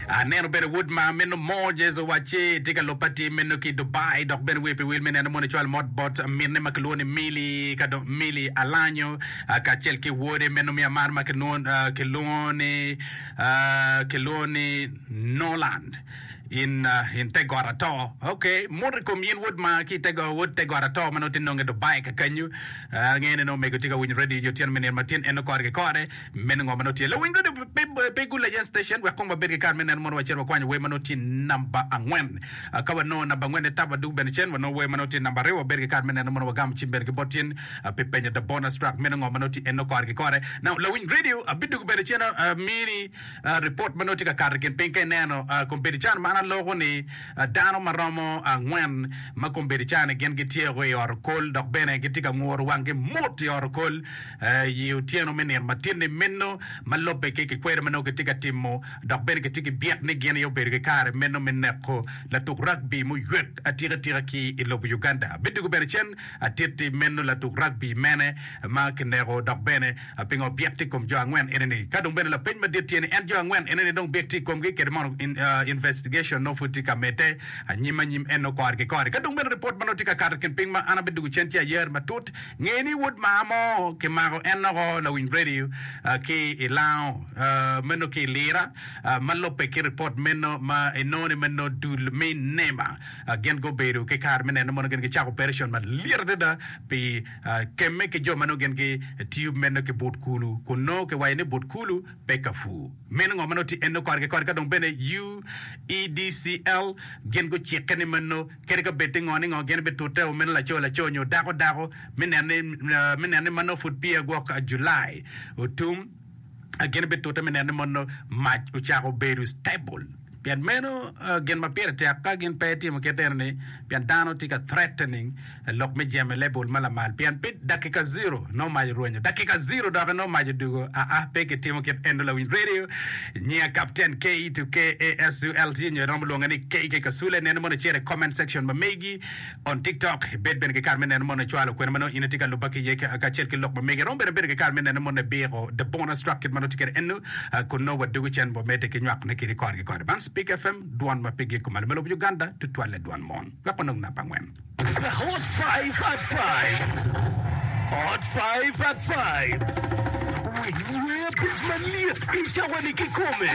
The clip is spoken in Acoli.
Aneno bene wod ma meno Moses owacci tye ka lubba tye meno ki Dubai dok bene wiye pi wil me neno mono ecwalo mot bot minne ma kilwongo ni Milly ka dong Milly Alanyo kacel ki wode meno me amar ma kilwongo ni kilwongo ni Noland in in te got ato. Ok, mot i kom in wod ma ki te wod te got ato ma nongo tye nonge Dubai kakanyu. Angeyo ni nongo omego tye ka winyo radio nyo otyeno me nino matin eno kore ki kore. Meno ngo ma nongo tye? Lawiny radio pe gul aye station wek kong wabed ki kare me neno mono wacit wakwanyo wer ma nongo tye namba angwen. Ka wanongo namba angwen ni tap wadug bene cen wanongo wer ma nongo tye namba aryo wabed ki kare me neno mono wagamo cim bene ki bot tin pi penyo the bonus track meno ngo ma nongo tye eno kore ki kore. Now lawiny radio abidugu bene cen amini report ma nongo tye ka kato i kin piny ka ineno kombeddi can ma an aloko ni dano ma romo angwen ma kombeddi can gin gityeko i ot okol dok bene gitye ka nguru wanggi mot i ot okol I otyeno me nino matin-ni meno ma lubbe ki kikwer ma nongo kitye ka timo dok bene kitye ki byek ni gin aye obedo ki kare meno me neko latuk rugby muywek atika tika ki i lobo Uganda. Abidwogo bene cen atitti meno latuk rugby mene ma kineko dok bene pingo byek tye i kom jo angwen eni-ni. Ka dong bene lapeny madit tye ni en jo angwen eni-ni dong byek tye i komgi kede mono investigation nongo pud tye ka medde anyim anyim eno kore ki kore. Ka dong bene ripot ma nongo tye ka kato i kin piny ma an abidwogo cen tye ayer matut Nge ni wod maa mo kimako en loko lawiny radio ki i lango meno ki i lira ma lubbe ki ripot meno ma inongo ni meno dul me nema gin gubedo ki kare me neno mono gin gicako operation malyet adada pi kemme ki jo ma nongo gin gitiyo meno ki but kulu kun nongo kiwaco ni but kulu pe ka pur. Meno ngo ma nongo tye eno kore ki kore ka dong bene UEDCL gin gucikke ni meno Kadi ka bed ni ngo ni ngo, gin bitute o meno laco laco nyo dako dako me neno ni me neno ni manongo pud peya gwok July otum. Gin bitute me neno ni mono mac ocako bedo stable. Pien meno gin ma pire tek ka gin pe timo kit eno ni pien dano tye ka threatening lok me jemo i level ma lamal pien pi dakika zero nongo mac orwenyo dakika zero doki nongo mac odugo aa pe kitimo kit eno lawiny radio nyinga Captain K to KASULT nyo iromo lwonga ni KK Kasule neno mono icito i comment section ma megi on TikTok ibed bene ki kare me neno mono icwalo kwena ma nongo in itye ka luba ki iye kacel ki lok ma megi iromo bene bedo ki kare me neno mono ibiko the bonus track kit ma nongo tye kwede eno kun nongo wadugo cen wamedde ki nywakone kedi kore ki kore man Speak FM dwon ma pe gik kumalo me lobo Uganda tutwalle dwon mon wek wanong namba angwen. The Hot 5 at 5. Hot 5 at 5. Winy wer abic malyet i cawa-ni kikome.